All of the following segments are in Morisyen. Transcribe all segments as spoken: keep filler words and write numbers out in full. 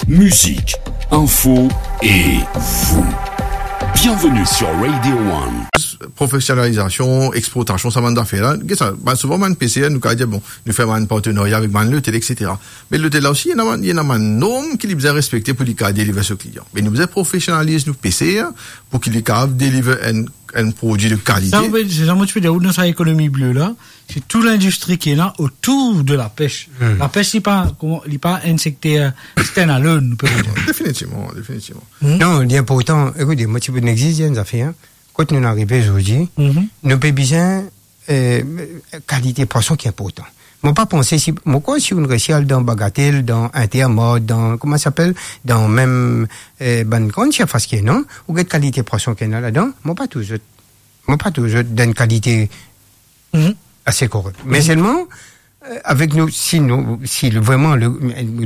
Musique, info et vous. Bienvenue sur Radio One. Profesionalizasion, exportasion, sa bann zafer la. Get sa, bann, souvan bann peser, nou kapav dir, bon, nou fer bann partenarya avek bann lotel, et cetera. Me lotel la osi, ena bann, ena bann norm ki li bizin respekte pou li kapav deliver so klian. Me nou bizin profesionaliz nou peser pou ki li kapav deliver enn, enn prodwi de kalite. Sa, ou pe, se sa mo ti pe dir, ou dan sa ekonomi ble la, se tou lindistri ki ena otour de lapes. Hmm. Lapes, li pa, kouma, li pa enn sekter stand alone, nou pe dir. Definitivman, definitivman. Hmm. Non, li inportan, ekoute, mo ti pou dir enn zafer, hein. Kot nou arive zordi, mhm, nou pe bizin, eh, kalite pwason ki inportan. Mo pa panse si, mo krwar si ou resi al dan Bagatel, dan Intermart, dan, kouma sa apel, dan mem, eh, bann gran sirfas ki ena, ou get kalite pwason ki ena ladan, mo pa trouv zot, mo pa trouv zot dan enn kalite, mhm, ase korek. Me, mhm, selman, eh, avek nou, si nou, si le, vreman le,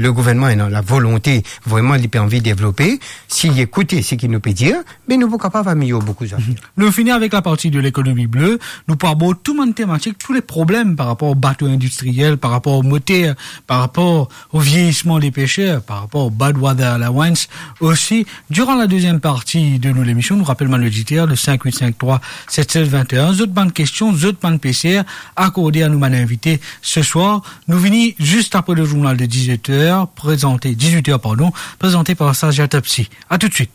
le gouvernman ena lavolonte, vreman li pe anvi devlope, si li ekoute seki nou pe dir, me nou pou kapav amelior boukou zafer. Nou fini avek laparti de lekonomi ble. Nou pou abord tou bann tematik, tou le problem par rapor bato indistriel, par rapor moter, par rapor o vieyisman de peser, par rapor bad weather allowance osi. Diran la deziem parti de nou lemision, nou rapel bann oditer, le cinq huit cinq trois sept sept vingt et un, zot bann kestion, zot bann peser, akorde a nou bann invite se swar. Nou vini zis apre le zournal de dix-huit heures, prezante, dix-huit heures, pardon, prezante par Saja Topsy. A toutswit.